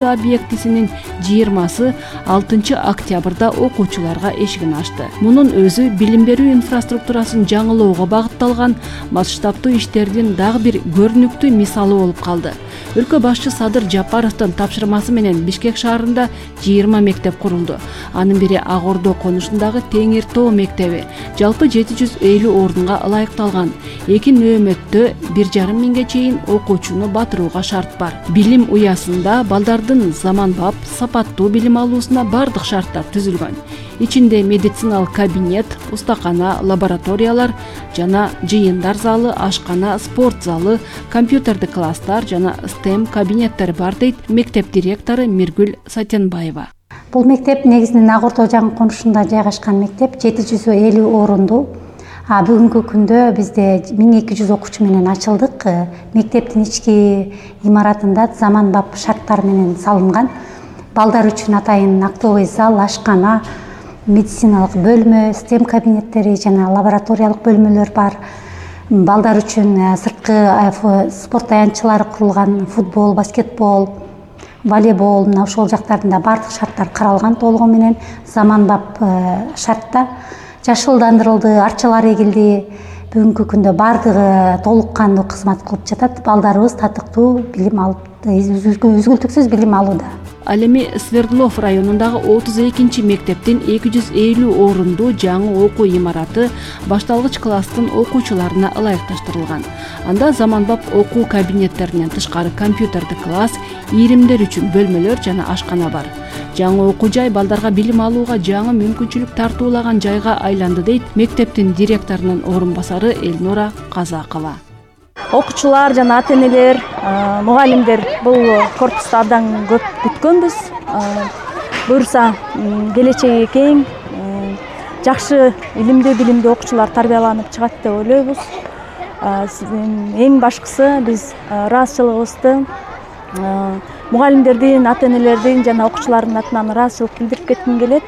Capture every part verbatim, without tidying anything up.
объектисинин жыйырмасы алтынчы октябрда окуучуларга эшигин ачты. Мунун өзү билим берүү инфраструктурасын жаңылоого багытталган масштабтуу иштердин дагы бир көрүнүктүү мисалы болуп калды. Өлкө башчы Садыр Жапаровдун тапшырмасы менен Бишкек шаарында жыйырма мектеп курулду. Анын бири Ак Ордо конушундагы Теңир Тоо мектеби жалпы жети жүз элүү орунга ылайыкталган. Эки нөөмөттө бир жарым миңге чейин окуучуну батырууга шарт бар. Билим уясында балдардын заманбап, сапаттуу билим алуусуна бардык шарттар түзүлгөн. Ичинде медициналык кабинет, устакана, лабораториялар жана жыйындар залы, ашкана, спорт залы, компьютердик класстар жана стем кабинеттер бар дейт мектеп директору Миргүл Сатенбаева. Бул мектеп негизинен Ак Ордо жаңы конушунда жайгашкан мектеп, жети жүз элүү орундуу. А бүгүнкү күндө бизде миң эки жүз окуучу менен ачылдык. Мектептин ички имаратында заманбап шарттар менен салынган. Балдар үчүн атайын актовый зал, ашкана, медициналык бөлмө, стем кабинеттери жана лабораториялык бөлмөлөр бар. Балдар үчүн сырткы спорт таянчылары курулган, футбол, баскетбол, волейбол, мына ошол жактарында бардык шарттар каралган толугу менен заманбап шартта. Жашылдандырылды, арчалар эгилди. Бүгүнкү күндө бардыгы толук кандуу кызмат кылып жатат. Балдарыбыз татыктуу билим алып, үзгүлтүксүз билим алууда. Ал эми Свердлов районундагы отуз экинчи мектептин эки жүз элүү орундуу жаңы окуу имараты башталгыч класстын окуучуларына ылайыкташтырылган. Анда заманбап окуу кабинеттеринен тышкары компьютердик класс, ийримдер үчүн бөлмөлөр жана ашкана бар. Жаңы окуу жай балдарга билим алууга жаңы мүмкүнчүлүк тартуулаган жайга айланды дейт мектептин директорунун орун басары Элнура Казакова. Окуучулар жана ата-энелер, мугалимдер бул корпусту абдан көп күткөнбүз. Буюрса, келечеги кең, жакшы илимдүү билимдүү окуучулар тарбияланып чыгат деп ойлойбуз. Эң башкысы биз ыраазычылыгыбызды мугалимдердин, ата-энелердин жана окуучулардын атынан ыраазычылык билдирип кетким келет.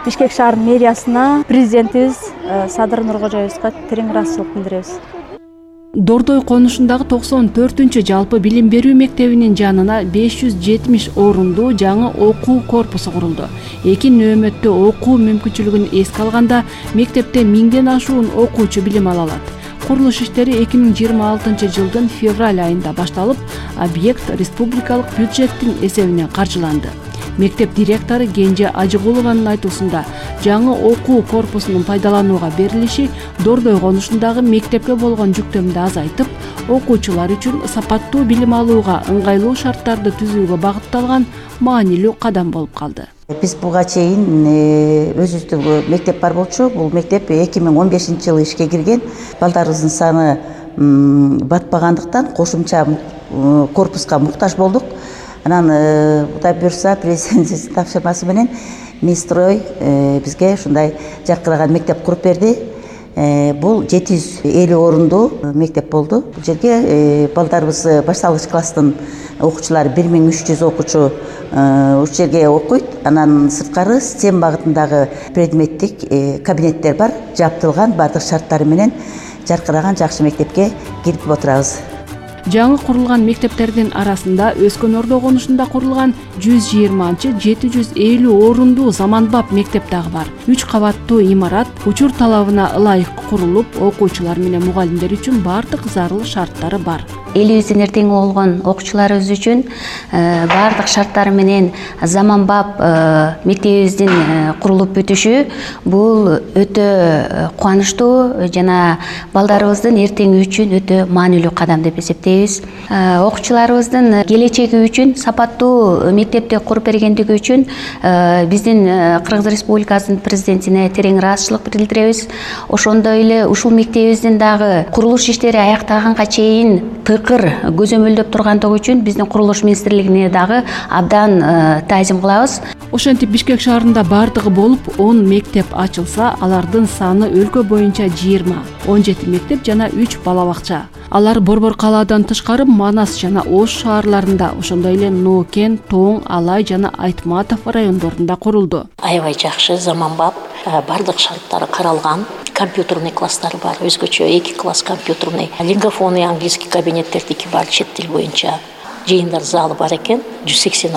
Бишкек шаарынын мэриясына, президентибиз Садыр Нуркожоевичке терең ыраазычылык билдиребиз. Дордой конушундагы токсон төртүнчү жалпы билим берүү мектебинин жанына беш жүз жетимиш орундуу жаңы окуу корпусу курулду. Эки нөөмөттө окуу мүмкүнчүлүгүн эске алганда мектепте миңден ашуун окуучу билим ала алат. Курулуш иштери эки миң жыйырма алтынчы жылдын февраль айында башталып, объект республикалык бюджеттин эсебинен каржыланды. Мектеп директору Кенже Ажыгулованын айтуусунда, жаңы окуу корпусунун пайдаланууга берилиши Дордой конушундагы мектепке болгон жүктөмдү азайтып, окуучулар үчүн сапаттуу билим алууга ыңгайлуу шарттарды түзүүгө багытталган маанилүү кадам болуп калды. Биз буга чейин өзүбүздө мектеп бар болчу. Бул мектеп эки миң он бешинчи жылы ишке кирген. Балдарыбыздын саны батпагандыктан кошумча корпуска муктаж болдук. Анан Кудай буйрса президентибиздин тапшырмасы менен Минстрой бизге ушундай жаркыраган мектеп куруп берди. Бул жети жүз элүү орундуу мектеп болду. Бул жерге балдарыбыз башталгыч класстын окуучулары бир миң үч жүз окуучу ушул жерге окуйт. Анан сырткары стем багытындагы предметтик кабинеттер бар, жаптылган бардык шарттары менен жаркыраган жакшы мектепке кирип отурабыз. Жаңы курулган мектептердин арасында Өскөн Ордо конушунда курулган жүз жыйырманчы жети жүз элүү орундуу заманбап мектеп дагы бар. үч кабаттуу имарат учур талабына ылайык курулуп, окуучулар менен мугалимдер үчүн бардык зарыл шарттары бар. Элибиздин эртеңи болгон окуучуларыбыз үчүн бардык шарттары менен заманбап мектебибиздин курулуп бүтүшү бул өтө кубанычтуу жана балдарыбыздын эртеңи үчүн өтө маанилүү кадам деп эсептейбиз. Окуучуларыбыздын келечеги үчүн сапаттуу мектепти куруп бергендиги үчүн биздин Кыргыз Республикасынын президентине терең ыраазычылык билдиребиз. Ошондой эле ушул мектебибиздин дагы курулуш иштери аяктаганга чейин тыкыр көзөмөлдөп тургандыгы үчүн биздин курулуш министрлигине дагы абдан таазим кылабыз. Ошентип Бишкек шаарында бардыгы болуп он мектеп ачылса, алардын саны өлкө боюнча жыйырма, он жети мектеп жана үч бала бакча. Алар Борбор калаадан тышкары Манас жана Ош шаарларында, ошондой эле Нокен, Тоң, Алай жана Айтматов райондорунда курулду. Аябай жакшы, заманбап, бардык шарттары каралган. Компьютерный класстары бар, өзгөчө эки класс компьютерный. Лингофон и английский кабинеттердики бар чет тил боюнча. жыйындар залы бар экен, жүз сексен